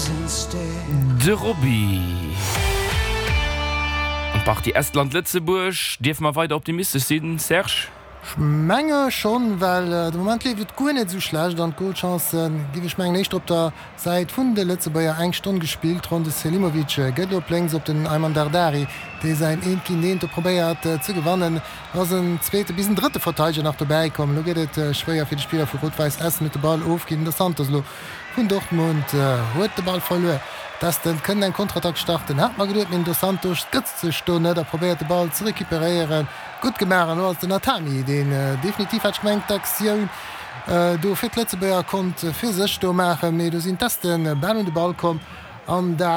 De Roby. An d'Partie Estland-Lëtzebuerg, dierfe mer weider optimistesch sinn, Serge? Ech menge schonn, well de Moment leeft et guer net esou schlecht an d'Golchancen, géif ech mengen, éischter op der Säit vun de Lëtzebuerger. Eng Stonn gespillt, ronn de Selimovic gëtt elo op lénks op den Ayman Dardari, dee säin Eent géint Eent do probéiert ze gewannen. Do ass en zweete bis en drëtte Verteideger nach dobäi komm. Elo gëtt et schwéier fir de Spiller vu Rot-Weiss Essen, huet de Ball ofginn. Dos Santos elo vun Dortmund huet de Ball verluer. D'Esten kënnen eng Konterattack starten, hat mer geduet, mee den Dos Santos gëtt sech do net a probéiert de Ball ze recuperéieren. Gutt gemaach an elo ass den Atami, deen definitiv, hat ech gemengt, d'Aktioun do fir d'Lëtzebuerger konnt fir sech do maachen, mee do sinn d'Esten bal un de Ball komm an dat.